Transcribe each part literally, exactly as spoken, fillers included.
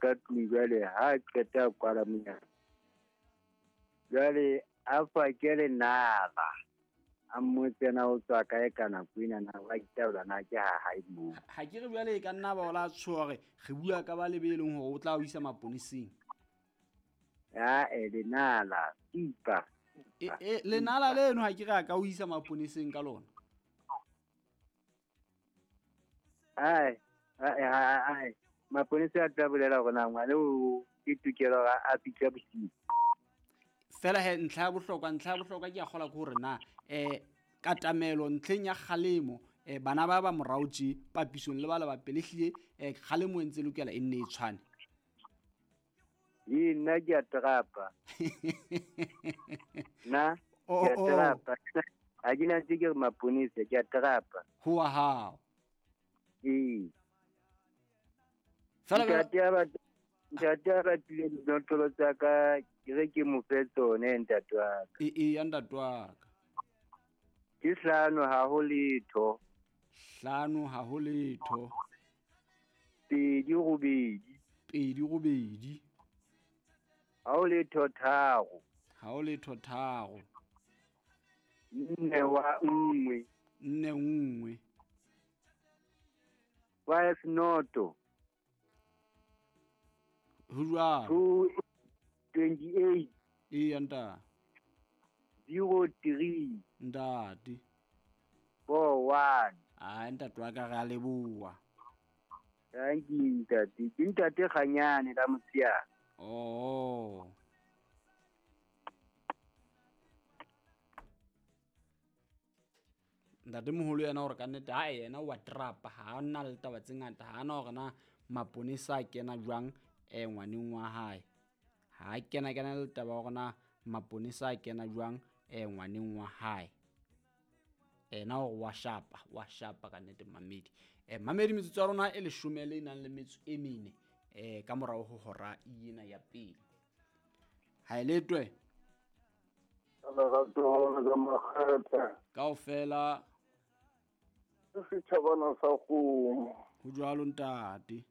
ka tlung jwale ha qeta kwala monyako. Jwale a fa ke le nala. A mmotsena o tswa kae ka nako ena na wa itaola na ke ha hae moo. Ha ke re jwale e ka nna ba o la tshoha hore re bua ka ba lebe e leng hore o tla o isa maponeseng. Ya e lenala tipa. E e lenala leno ha ke re a ka o isa maponeseng ka lona. Ai ai ai maponesa a tla bolela hore na ngwana o ke tokelo a fitlha bosiu. Fela he ntlha ya bohlokwa ntlha ya bohlokwa ke a kgola ke hore na eh katamelo ntlheng ya kgalemo eh bana ba ba morao tje papisong le ba le ba pele hlile eh kgalemo e ntse lokela e nne e tshwane. Ee nna ke a trapa. Na ke a trapa. Ha ke na ntse ke re maponesa ke a trapa. Ho wa hao. Ee. Fela ntate a ba ntate a batlile dinotlolo tsa ka ke re ke mo fe tsone ntate wa ka. E e ya ntate wa ka. Ke hlano ha ho letho. Hlano ha ho letho. Pedi robedi. Pedi robedi. Ha ho letho tharo. Ha ho letho tharo. Nne wa nngwe. Nne nngwe. Five noto. Ho jwalo. Two twenty-eight. Eya ntate. Zero three. Ntate. Four one. Ah ntate wa ka re a leboha. Thank you ntate. Ke ntate Kganyane la Motsheana. Oh. Ntate moholo yena hore ka nnete ha yena wa trapa ha nna le taba tse ngata ha na hore na maponesa a kena jwang eh ngwaneng wa hae. Ha kena kena le taba hore na maponesa a kena jwang eh ngwaneng wa hae. Ena hore wa shapa wa shapa ka nnete mamedi. Eh mamedi metsotso ya rona e leshome le nang le metso e mene eh ka morao ho hora ena ya pele. Ha eletwe. Kaofela setjhabana sa kgomo. Ho jwalo ntate.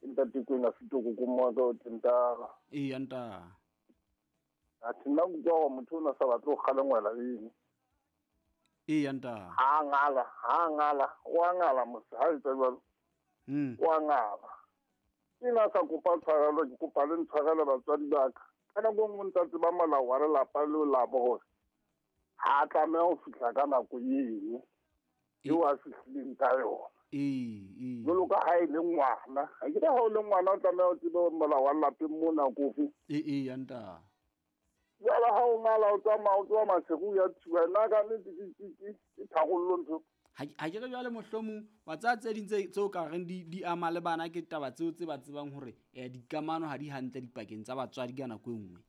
Ntate kwena fitoko ko moka o tentara. Eya ntate. Athe nna utlwa hore motho ona sa batle ho kgalengwela eng. Eya ntate. Ha ngala, ha ngala, wa ngala mose ha etsa jwalo. Mm. Wa ngala. Ke na sa kopa tshwarelo, ke kopa le ntshwarele batswadi ba ka. Ka nako e nngwe ntse tseba molao wa lelapa leo la bo hore ha tlameha ho fihla ka nako eno eo a fihlileng ka yona. Ee, ee. Jwalo ka ha e le ngwana. Ha ke re ha o le ngwana o tlameha o tsebe hore molao wa lapeng mona ke ofe. Ee, ee, ntate. Jwale ha o ngala o tsamaya o tloha Maseru o ya Thuba, nna ka nnete ke ke tharollo ntho. Ha ke re jwale mohlomong wa tsaya tse ding tse tseo ka reng di di ama le bana ke taba tseo tse ba tsebang hore eh dikamano ha di hantle dipakeng tsa batswadi ka nako e nngwe.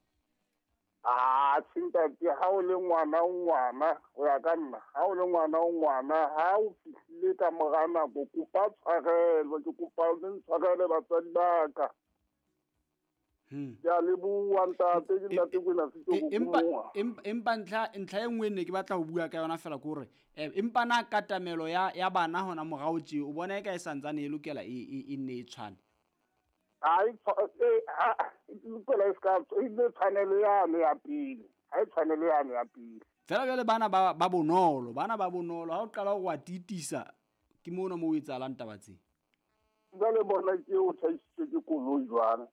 Ah, ntate ha o le ngwana o ngwana o ya ka nna ha o le ngwana o ngwana ha o fihlile ka mora nako kopa tshwarelo ke kopa le ntshwarele batswadi ba ka. Hmm. Ke a leboha ntate ke ntate kwena fitoko empa empa ntlha ntlha e nngwe ne ke batla ho bua ka yona fela ke hore empa na katamelo ya ya bana hona morao tje o bona e ka e santsane e lokela e e nne e tshwane. Ha e lokela e ska e ne tshwanelo yane ya pele ha e tshwanelo yane ya pele fela jwale bana ba ba bonolo bana ba bonolo ha o qala ho wa titisa ke mona mo o etsahalang taba tse. Jwale bona ke o tjhaisitswe ke koloi jwang.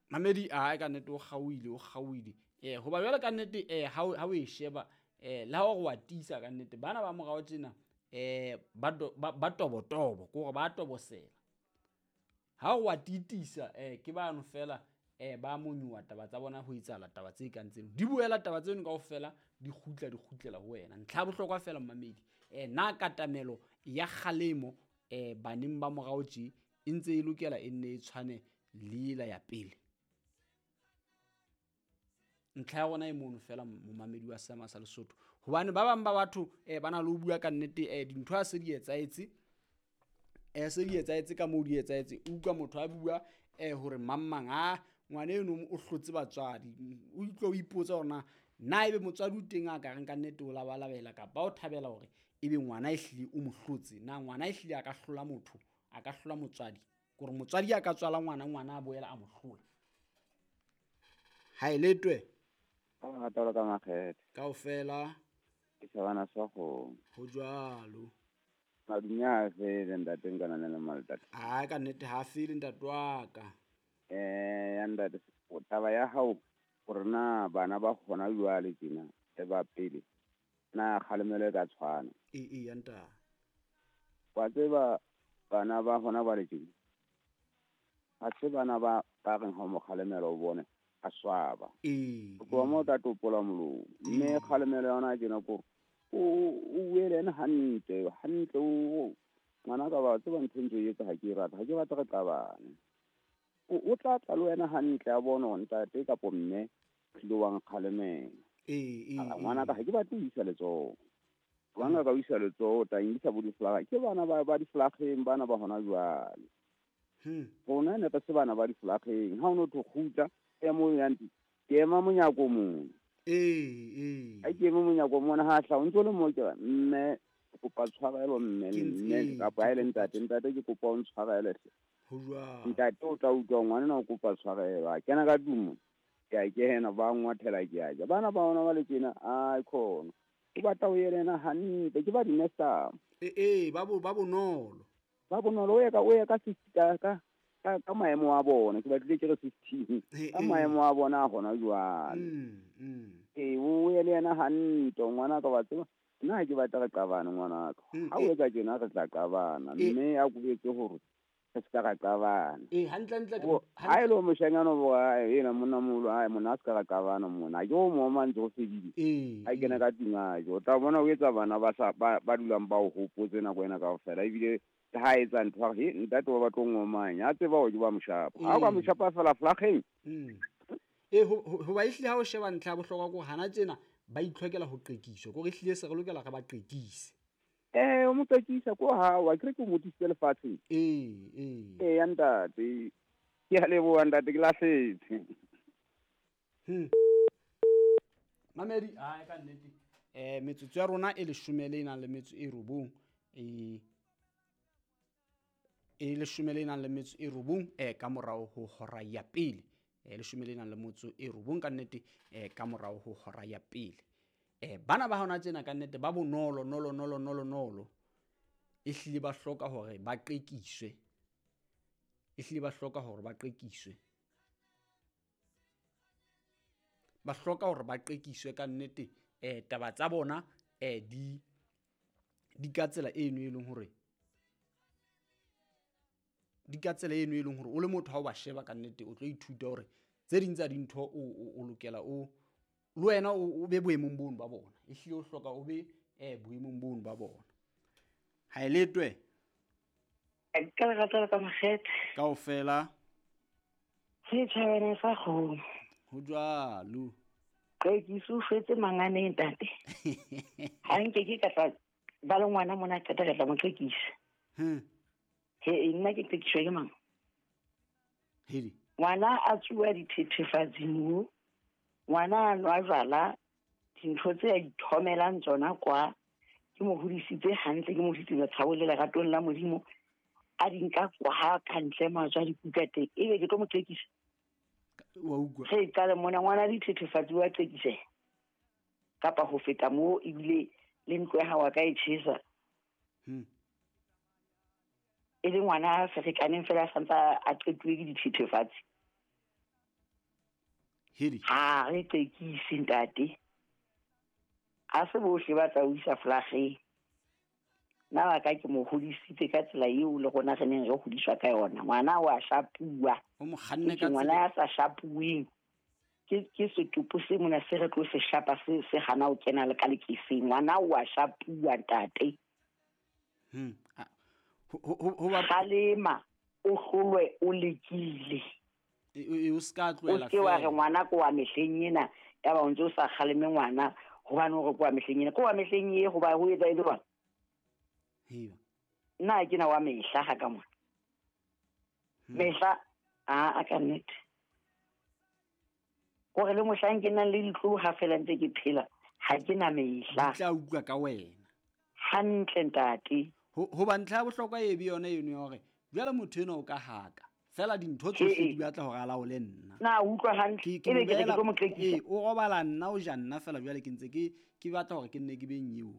Mamedi a ka nnete o kgaoile o kgaoile eh hoba jwale ka nnete eh ha ha o e sheba eh la hore wa tisa ka nnete bana ba morao tjena eh ba ba tobotobo ke hore ba tobosela ha o wa titisa eh ke bano fela eh ba monyuwa taba tsa bona ho etsahala taba tse kang tseno di buela taba tseno kaofela di kgutla di kgutlela ho wena ntlha ya bohlokwa fela mamedi eh na katamelo ya kgalemo eh baneng ba morao tje e ntse e lokela e nne e tshwane le la ya pele. Ntlha ya rona e mono fela momamedi wa Seema sa Lesotho hobane ba bang ba batho eh ba na le ho bua ka nnete eh dintho ha se di etsaetse eh se di etsaetse ka moo di etsaetse utlwa motho a bua eh hore mang mang a ngwana eno o hlotse batswadi o itlo o ipotsa hore na na ebe motswadi o teng a ka reng ka nnete o labalabela kapa o thabela hore ebe ngwana e hlile o mo hlotse na ngwana e hlile a ka hlola motho a ka hlola motswadi kore motswadi a ka tswala ngwana ngwana a boela a mo hlola ha e letwe ka rata ka makgethe kaofela ke shabana sa go ho jwalo madunya fele ntate nkana le maltate ha ka nnete ha fele ntate wa ka eh ya ntate taba ya hao gore na bana ba gona jwale tjena e ba pele na kgalemelo e ka tshwana e e ya ntate wa tseba bana ba gona ba le tjena ha se bana ba ba reng ha mo kgalemelo o bone a swaba e go mo tla topola molomo mme kgalemelo yona tjena ko o o wele ena hantle hantle o ngwana ka ba tseba ntho ntse e etsa ha ke rata ha ke batla re qabane o tla tla le wena hantle a bona hore ntate kapo mme tlile wa nkgalemela ee ee ngwana ka ha ke batle ho isa letsoho ngwana ka o isa letsoho o tla nkisa bo diflaga ke bana ba ba diflageng bana ba hona jwale hmm rona ne re se bana ba diflageng ha o no tlo kgutla e mo yang ke ema monyako mona ee ee ha ke eme monyako mona ha hla o ntso le mo ke mme kopa tshwarelo mme mme kapa ha e le ntate ntate ke kopa o ntshwarele hle ho jwalo ntate o tla utlwa ngwana na o kopa tshwarelo a kena ka tumo ke a kena ba ngwathela ke a ja bana ba ona ba le tjena ai khona o batla o yelena hantle ke ba di-nesta ee ee ba bo ba bonolo ba bonolo o ye ka o ye ka ka ka ka maemo a bona ke batlile ke re fifteen ka maemo a bona a gona jwale ee o ye le yena hantle ngwana ka wa tseba nna ha ke batla re qabane ngwana ka ha o etsa tjena re tla qabana mme a kubetse hore re se ka ra qabana ee hantle hantle ha e le moshanyana bo ena monna moholo ai monna a se ka ra qabana mona ke o mo mantse go fedile ha kena ka tlung a jo tla bona o etsa bana ba sa ba dulang ba o hopotse nako ena kaofela ebile ha etsa ntho ha he ntate wa batlo ngomanya a tseba hore ke ba moshapa ha o ka moshapa fela flageng ee ho ba ehlile ha o sheba ntlha ya bohlokwa ko hana tjena ba itlhokela ho qekiswa kore ehlile se re lokela re ba qekise eh o mo qekisa ko ha wa kere ke mo tisitse lefatsheng ee ee ee ya ntate ke a leboha ntate ke lahletse hmm mamedi ai ka nnete eh metsotso ya rona e leshome le nang le metso e robong e e leshome le nang le metso e robong eh ka morao ho hora ya pele e leshome le nang le motso e robong ka nnete eh ka morao ho hora ya pele eh bana ba hona tsena ka nnete ba bonolo nolo nolo nolo nolo e hlile ba hloka hore ba qekiswe e hlile ba hloka hore ba qekiswe ba hloka hore ba qekiswe ka nnete eh taba tsa bona eh di di ka tsela eno e leng hore di ka tsela eno e leng hore o le motho ha o ba sheba ka nnete o tlo ithuta hore tse ding tsa dintho o o lokela o le wena o be boemong bono ba bona e hlile o hloka o be eh boemong bono ba bona ha e letwe ka lerato ka makgethe kaofela setjhabeng sa kgomo ho jwalo qekiso fetse manganeng ntate ha nke ke ka tla ba le ngwana mona qeta ka tla mo qekisa hm he nna ke qekiswa ke mang hedi ngwana a tsuwa dithethefatsi mo ngwana a nwa jwala dintho tse a ithomelang tsona kwa ke mo hodisitse hantle ke mo hodisitse tshabo le leratong la Modimo a di nka kwa ha ka ntle matswa dikuka teng ebe ke tlo mo qekisa wa utlwa re qale mona ngwana dithethefatsi wa qekise kapa ho feta mo ebile le ntlo ya hao ka e tjhesa hm e le ngwana a ferekaneng fela a santsa a qetuwe ke dithethefatsi hedi ha re qekise ntate a se bohle ba tla o isa flageng nna wa ka ke mo hodisitse ka tsela eo le rona re neng re hodiswa ka yona ngwana wa shapuwa o mo kganne ka ngwana ya sa shapuweng ke ke setopo se mona se re tlo se shapa se se hana o kena le ka lekeseng ngwana wa shapuwa ntate hm ho ba kgalema o hlolwe o lekile e o ska tlohela fela o ke wa re ngwana ko wa mehleng ena ya ba o ntse o sa kgaleme ngwana hobane o re ko wa mehleng ena ko wa mehleng e hoba ho etsa e le jwang heba nna ke na wa mehla ha ka mona mehla a a ka nnete gore le mohlang ke nang le ditlolo ha fela ntse ke phela ha ke na mehla tla utlwa ka wena hantle ntate ho ba ntlha ya bohlokwa e be yona eno ya hore Jwale motho enwa o ka haka. Fela dintho tsohle di batla hore a laole nna. Na utlwa hantle ebe ke re ke tlo mo qekisa. Ee, o robala nna o ja nna fela jwale ke ntse ke ke batla hore ke nne ke beng eo.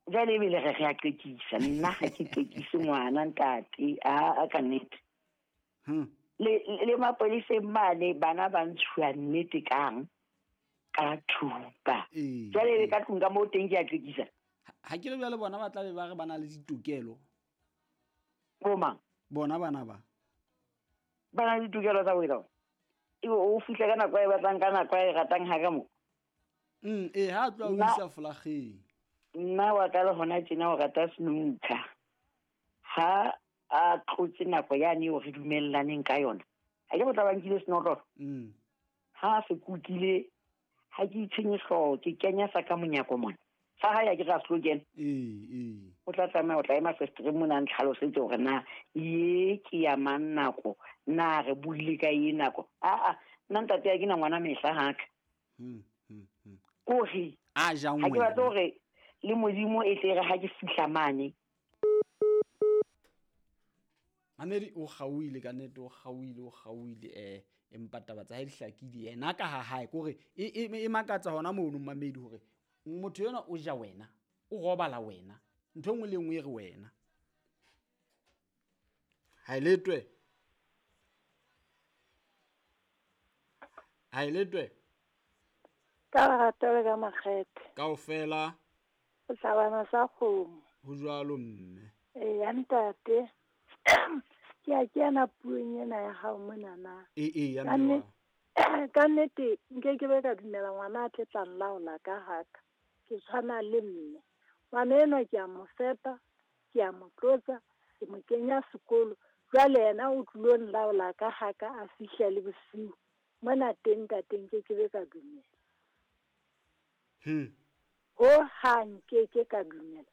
Jwale ebe le re re a qekisa nna ha ke qekise ngwana ntate a a ka nnete. Hm. Le le mapoliseng mane bana ba ntshuwa nnete kang ka thupa. Jwale ebe ka tlung ka moo teng ke a qekisa. Ha ke le jwale bona ba tla be ba re ba na le ditokelo. Bo mang? Bona bana ba. Ba na le ditokelo tsa ho etsa. Ebe o fihla ka nako e batlang ka nako e ratang ha ka mo. Mm, eh ha tloha o isa folageng. Nna wa ka le hona tjena o rata snooker. Ha a tlotse nako yane eo re dumellaneng ka yona. Ha ke botla ba nkile senotlolo. Mm. Ha se kukile ha ke itshenye hlooho ke kenya sa ka monyako mona. Sa hae ke ra se kena. Ee, ee. O tla tsamaya o tla ema festereng mona ntlhalosetse hore na ye ke ya mang nako na re buile ka ye nako. A a nna ntate ya ke na ngwana mehla haka. Mm, mm, mm. Kore a jang wena. Ha ke batla hore le Modimo e tle re ha ke fihla mane. Mamedi o kgauile ka nnete o kgauile o kgauile eh empa taba tsa hae di hlakile yena ka ha hae kore e e makatsa hona mono Mamedi hore motho yena o ja wena o robala wena ntho engwe le engwe e re wena ha e letwe ha e letwe ka lerato le ka makgethe kaofela o tlabana sa kgomo ho jwalo mme ee ya ntate ke a kena puong ena ya hao monana ee ee ya mme ka nnete nke ke be ka dumela ngwana a tle tla nlaola ka haka ke tshwana le mme ngwana enwa ke a mo fepa ke a mo tlotsa ke mo kenya sekolo jwale yena o tlilo nlaola ka haka a fihla le bosiu mona teng ntate nke ke be ka dumela hmm ho hang nke ke ka dumela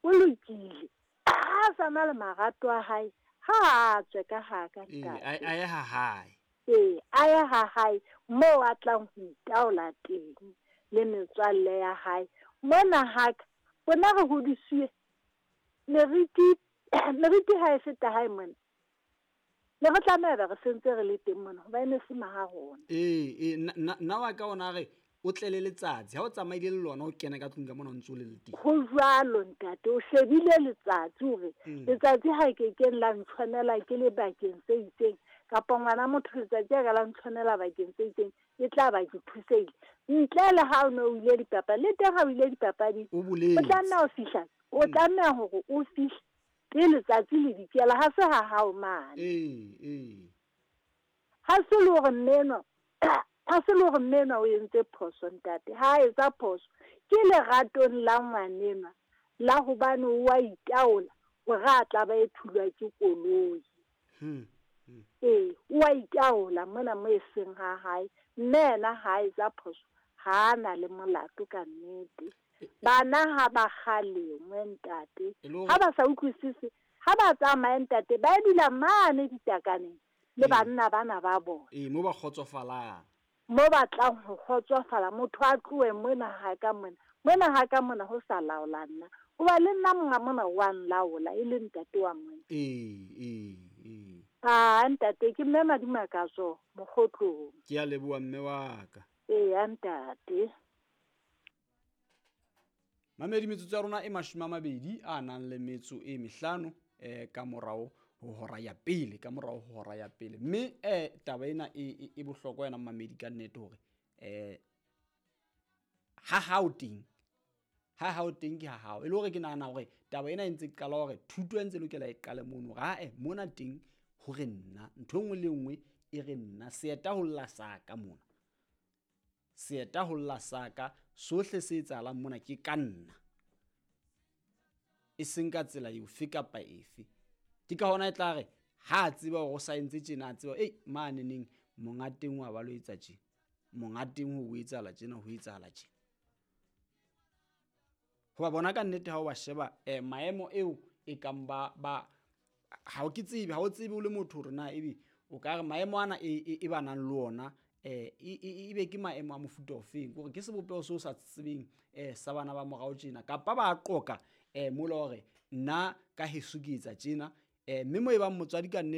o lokile a sa na le marato a hae ha a tswe ka haka ntate a ye ha hae ee a ye ha hae moo a tlang ho itaola teng le metswalle ya hae mona haka rona re hodisiwe meriti meriti ha e feta hae mona ne re tlameha be re sentse re le teng mona hobane e se maha rona ee ee nna wa ka ona re o tlele letsatsi ha o tsamaile le lona o kena ka tlung ka mona o ntse o le le teng ho jwalo ntate o shebile letsatsi hore letsatsi ha ke keng la ntshwanela ke le bakeng se itseng kapa ngwana motho letsatsi a ka la ntshwanela bakeng se itseng e tla ba ke thusehile ntle le ha o ne o ile dipapadi le teng ha o ile dipapading o boletse o tlameha ho fihla o tlameha hore o fihle pele letsatsi le dikela ha se ha hao mane ee ee ha se le hore mme enwa ha se le hore mme enwa o entse phoso ntate ha a etsa phoso ke leratong la ngwanenwa la hobane o wa itaola hore a tla ba e thulwa ke koloi hmm ee o wa itaola mona mo e seng ha hae mme yena ha a etsa phoso ha a na le molato ka nnete bana ha ba kgalengwe ntate ha ba sa utlwisise ha ba tsamaye ntate ba dula mane ditakaneng le banna bana ba bona ee mo ba kgotsofalang mo batlang ho kgotsofala motho a tlohe mona ha ka mona mona ha ka mona ho sa laola nna hoba le nna monga mona wa nlaola e le ntate wa mona ee ee ee a ntate ke mme Madimakatso Mokgotlong ke a leboha mme wa ka ee ya ntate Mamedi metsotso ya rona e mashome a mabedi a nang le metso e mehlano eh ka morao ho hora ya pele ka morao ho hora ya pele mme eh taba ena e e bohlokwa yena Mamedi ka nnete hore eh ha hao teng ha hao teng ke ha hao e le hore ke nahana hore taba ena e ntse qala hore thuto e ntse lokela e qale mono hore ae mona teng hore nna ntho engwe le engwe e re nna seeta ho lla saka mona seeta ho lla saka sohle se etsahalang mona ke ka nna e seng ka tsela efe kapa efe ke ka hona e tla re ha a tseba hore o sa entse tjena a tseba ei mane neng monga teng wa ba lo etsa tjena monga teng ho etsahala tjena ho etsahala tjena hoba bona ka nnete ha o ba sheba eh maemo eo e kang ba ba ha o ke tsebe ha o tsebe o le motho hore na ebe o ka re maemo ana e e ba nang le ona eh e be ke maemo a mofuta ofeng hore ke sebopeho seo sa tsebeng eh sa bana ba morao tjena kapa ba qoka eh mola hore nna ka heso ke etsa tjena Eh mme mo e bang motswadi ka nnete